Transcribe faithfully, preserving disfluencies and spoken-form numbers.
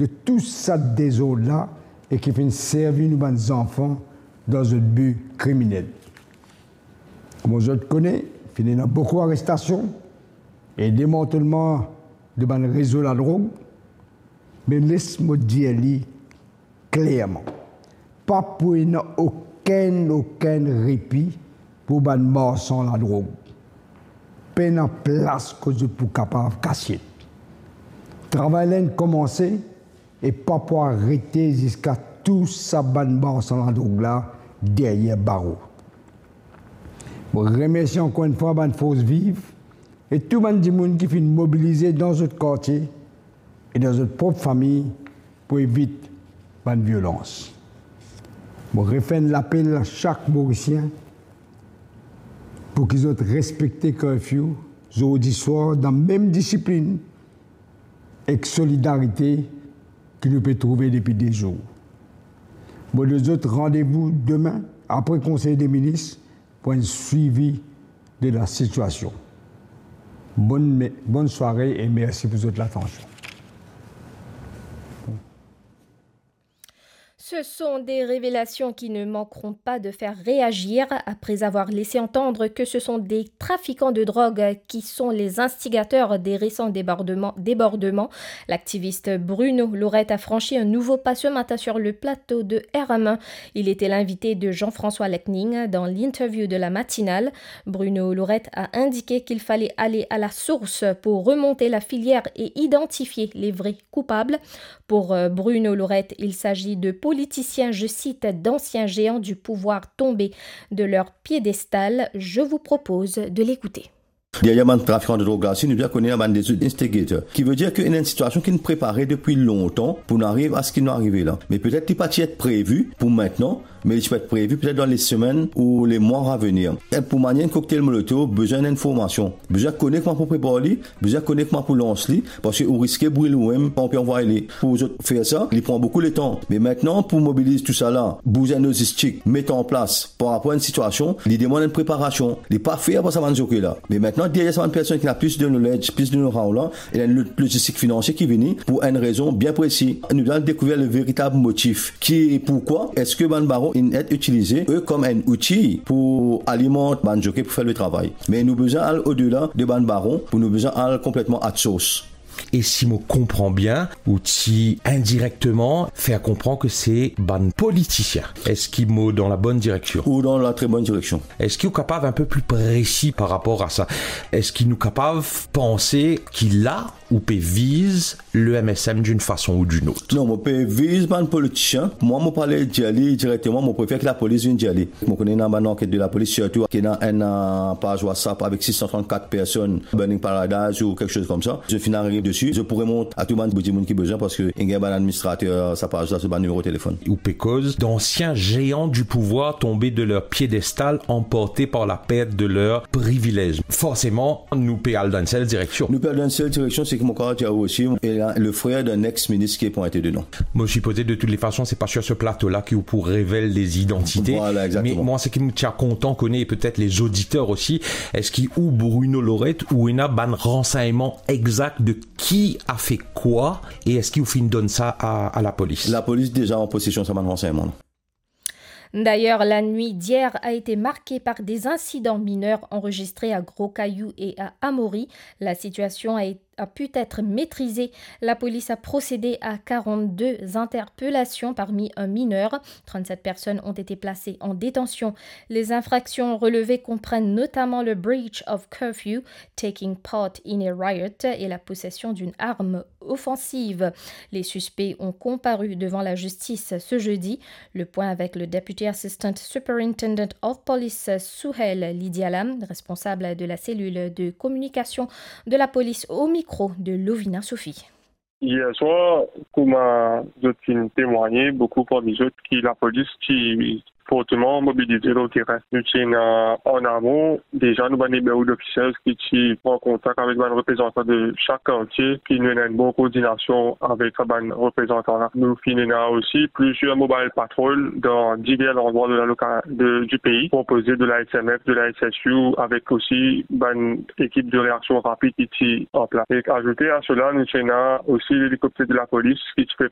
de tou sa dezord la e ki finn servi nou bann zanfan dan zot bi kriminel. Kouma zot kone, finn ena boukou arestasion e demantelman de bann rezo ladrog, me les mo dir li klerman, pa pou ena okenn, okenn repi pou bann marsan ladrog. Pena plas kot zot pou kapav kasiet. Travay la inn komanse e pa pou arete ziska tou sa bann marsan ladrog la deryer baro. Mo remersie ankor enn fwa bann Fors Viv e tou bann dimoun ki finn mobilize dan zot kartie e dan zot prop fami pou evit bann violans. Mo refer enn lapel a sak Morisien pou ki zot respekte curfew zordi swar dan mem disiplinn ek solidarite ki nou pe trouve depi de zour. Mo donn zot randevou demin apre Konsey de Minis pou enn swivi de la sitiasion. Bonn me-, bonn sware e mersi pou zot latansion. Ce sont des révélations qui ne manqueront pas de faire réagir après avoir laissé entendre que ce sont des trafiquants de drogue qui sont les instigateurs des récents débordements, débordements. L'activiste Bruno Laurette a franchi un nouveau pas ce matin sur le plateau de R M un. Il était l'invité de Jean-François Lecning dans l'interview de la matinale. Bruno Laurette a indiqué qu'il fallait aller à la source pour remonter la filière et identifier les vrais coupables. Pour, euh, Bruno Laurette, il s'agit de politiciens, je cite, d'anciens géants du pouvoir tombés de leur piédestal. Je vous propose de l'écouter. Deryer bann trafikan de drog la osi, nou bizin kone bann lezot instigator. Ki vedir ki ena enn sitiasion ki inn prepare depi lontan pou nou ariv a seki nou arive la. Me petet li pa ti et previ pou mintnan, me li ti pou et previ petet dan lesemenn ou lemwa a venir. E pou manier enn koktel molotov, bizin enn formasion. Bizin kone kouma pou prepar li, bizin kone kouma pou lans li, parski ou riske bril oumem kan ou pe anvway li. Pou zot fer sa, li pran boukou letan. Me mintnan, pou mobiliz tousala, bizin lozistik, met an plas par rapor a enn sitiasion, li demann enn preparasion. Li pa fer par sa bann zoke la. Me mintnan, deryer sa bann personn ki ena plis de knowledge, plis de know-how la, ena enn lo-, lozistik finansie ki vini pou enn rezon bien presi. Nou bizin dekouver le veritab motif. Ki, poukwa eski bann baron inn et itilize, e, kom enn outi pou alimant bann zoke pou fer le travay. Me nou bizin al odela de bann baron pou nou bizin al konpletman at source. E si mo konpran bien, ou ti indirekteman fer konpran ki se bann politisien. Eski mo dan la bonn direksion? Ou dan la tre bonn direksion. Eski ou kapav enn pe pli presi par rapor a sa? Eski nou kapav panse ki la ou pe viz le M S M d'une façon ou d'une autre? Non, mo pe viz bann politisien. Mwa, mo pa le dir li direkteman, mo prefer ki lapolis vinn dir li. Mo kone ena bann anket de lapolis, sirtou ki ena enn, euh, paz WhatsApp avek sis san trannkat personn, Burning Paradise ou kiksoz koumsa. Zot finn ariv desi, zot pou remont a tou bann dimoun ki bizin, parski inn gagn bann administrater sa paz la, so bann nimero telefonn. Ou pe koz d'anciens géants du pouvoir tombés de leur piédestal, emportés par la perte de leurs privilèges. Forseman, nou pe al dan enn sel direksion. Nou pe al dan enn sel direksion, seki mo kapav dir ou osi, e la, le frer d'un ex-minis ki epwinte dedan. Mo sipoze, de toutes les façons, c'est pas sur ce plateau-là ki ou pou revel les identités. Voilà, exactement. Me mwa, seki mo ti a kontan kone, e petet les auditeurs aussi, eski ou, Bruno Laurette, ou ena bann ransegnman exak de ki a fer kwa, e eski ou finn donn sa a, a lapolis? Lapolis deza an posesion sa bann ransegnman la. D'ailleurs, la nuit d'hier a été marquée par des incidents mineurs enregistrés à Gros-Caillou et à Amaury. La situation a été a pu être maîtrisée. La police a procédé à quarante-deux interpellations parmi un mineur. Trente-sept personnes ont été placées en détention. Les infractions relevées comprennent notamment le breach of curfew, taking part in a riot et la possession d'une arme offensive. Les suspects ont comparu devant la justice ce jeudi. Le point avec le Deputy Assistant Superintendent of Police, Souhel Lidiala, responsable de la cellule de communication de la police, au micro de Lovina Sophie. Yer swar, kouma zot finn temwagne, boukou parmi zot ki lapolis ti forteman mobilize lor terin. Nou ti ena an amon deza nou bann nimewo d'officiers ki ti pran kontak avek bann reprezantan de sak kartie, ki nou ena enn bon koordinasion avek sa bann reprezantan la. Nou finn ena osi plizier mobile patrol dan diver landrwa de la loka-, de, di pei, konpoze de la S M F, de la S S U, avek osi bann ekip de reaksion rapid ki ti an plas. E azoute a sela, nou ti ena osi lelikopter de lapolis ki ti pe